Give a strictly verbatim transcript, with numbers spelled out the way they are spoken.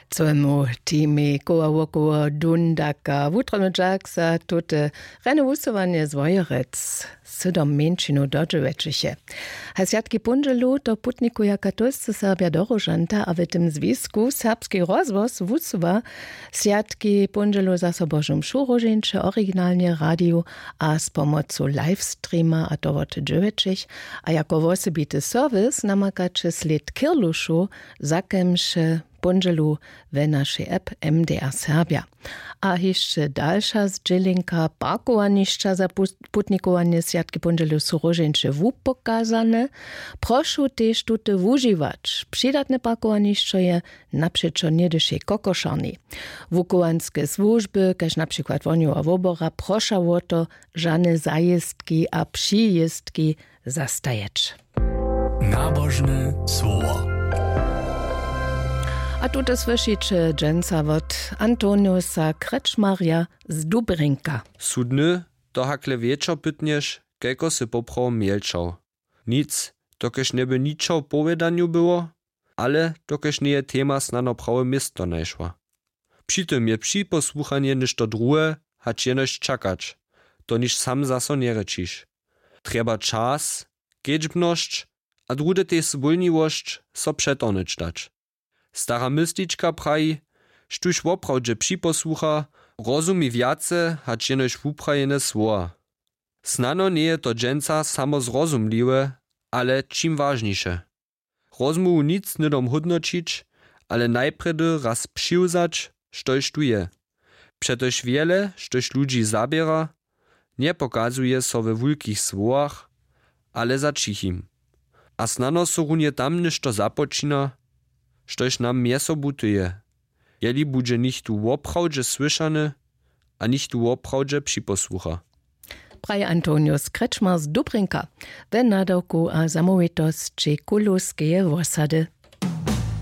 Całemu teamej koła wokoło dundaka wutrobny dźak za tute rjane wusyłanje z wojerec. Sydom mjeńšinow dodźěłećiche. A swjatki póndźelu to putnikuja katolscy serbja do róžanta a w tym zwisku serbski rozhłos wusyła swjatki póndźelu zaso božu mšu róžeńće originalnje radiju a z pomocu livestreama a to wot dźěłećich. A jako wosebity serwis namakaće slěd kirlušow, za kemž póndźelu we našej app mdr serbja. A hišće dalša zdźělinka: parkowanišća za putnikowanje swjatki póndźelu su róžeńće wupokazane. Prošu tež tute wužiwać. Přidatne parkowanišćo je napřećo něhdyšej kokošarni. Wukowanske słužby kaž na přikład wohnjowa wobora proša wo to, žane zajěztki a přijěztki zastajeć. Nabožne słowo. A tute słyšiće dźensa wot Antoniusa Krečmarja z Dubrinka. Su dny, to hakle wječor pytnješ, kajko sy poprawom mjelčał? Nic, dokelž njeby ničo w powědanju było, ale dokelž njeje tema snano prawe město našła. Při tym je připosłuchanje něšto druhe, hač jenož čakać, to niž sam zaso njerěčiš. Trjeba čas, kedźbnosć a druhdy tež zwólniwosć, so přetorhnyć dać. Stara myslička praji: Štóž woprawdźe připosłucha, rozumi wjace hač jenož wuprajene słowa. Snano njeje to dźensa samo zrozumliwe, ale čim wažniše. Rozmołwu nic hnydom hódnoćić, ale najprjedy raz přiwzać, štož tu je. Přetož wjele, štož ludźi zaběra, njepokazuje so we wulkich słowach, ale za ćichim. A snano so runje tam něšto započina, štož nam mjezsobutuje, jeli budźe nichtó woprawdźe słyšany a nichtó woprawdźe připosłucha. Praji Antonius Krečmar z Dubrinka. We nadawku a zamołwitosći kulowskeje wosady.